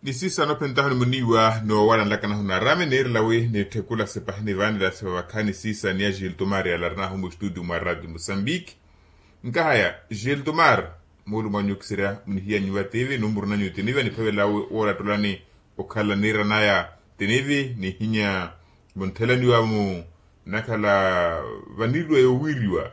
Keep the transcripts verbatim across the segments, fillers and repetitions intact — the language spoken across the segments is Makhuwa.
Isiisa noophenttahu ni muniiwa noowalanlaka nahu naarame niirela wi niitthekula sepahi nivaanela sepavakha ni siisa ni ya gilto maria larinahu mustudio mwa radio musambiki. Nkahaya gilto mar, muulu mwanyu okiserya munihiya nyuwa tivi numuru nanyu tinivi aniphavela woolatulani okhala niiranaya tinivi nihinya munthelaniwa mu nakhala vanilwe yowiiriwa.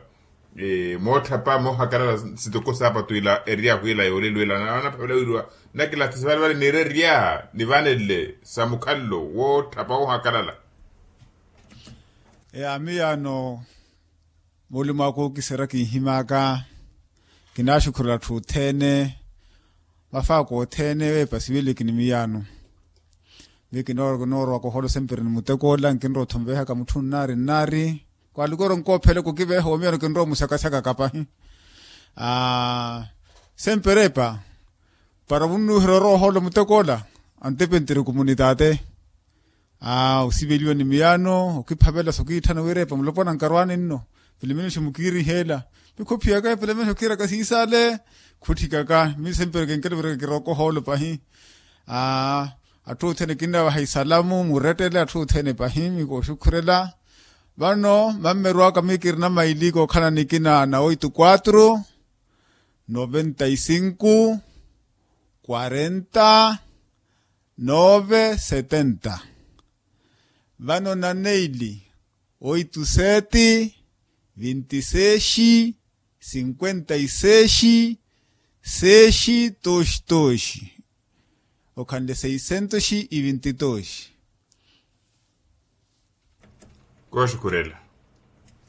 Mootthapa moohakalala sitoko saapatu ila eryahu ila yoolelo ila anaphavela wiiriwa nakilathisa vale vale niirerya nivanelle sa mukhallo wootthapa woohakalala. Eya miyaano muulimo aka okiserya kinhimaka. Kinaaxukhurela atthu othene mafaako othene weepa siviliki ni miyaano. Miyo kinoorowaka oholo sempre ni muteko ola nkinrowa othonvehaka mutthu nnaari nnaari. Kwaalikoro nkoophele kukiveha omiyaano kinrowa omusakasyaka kapahi. Aa sempre epa para vunnuuherya orowa oholo muteko ola. Antepentiri kumunitaate. Aa osiveliwa ni miyaano okiphavela sokiitthana wira epa mulopwana nkarwaani nno. Pilimeni xi mukiiriheela. Mikhophiyaka epilimeni okiiraka siisale. Khutthikaka mi sempre kenkele vira kiroka ohoolo pahi. Aa atthu othene kinnavaha isalamu murettele atthu othene pahi mi kooxukhurela. Vano mammeru aka mi kirina maili kookhala nikina na oito quatro noventa y cinco quarenta nove setenta. Vano na neili oito sete vinte sexi cinquenta y sexi sexi toxi toxi. Okhanle seisentoxi ivintitoxi. Kooxukhurela.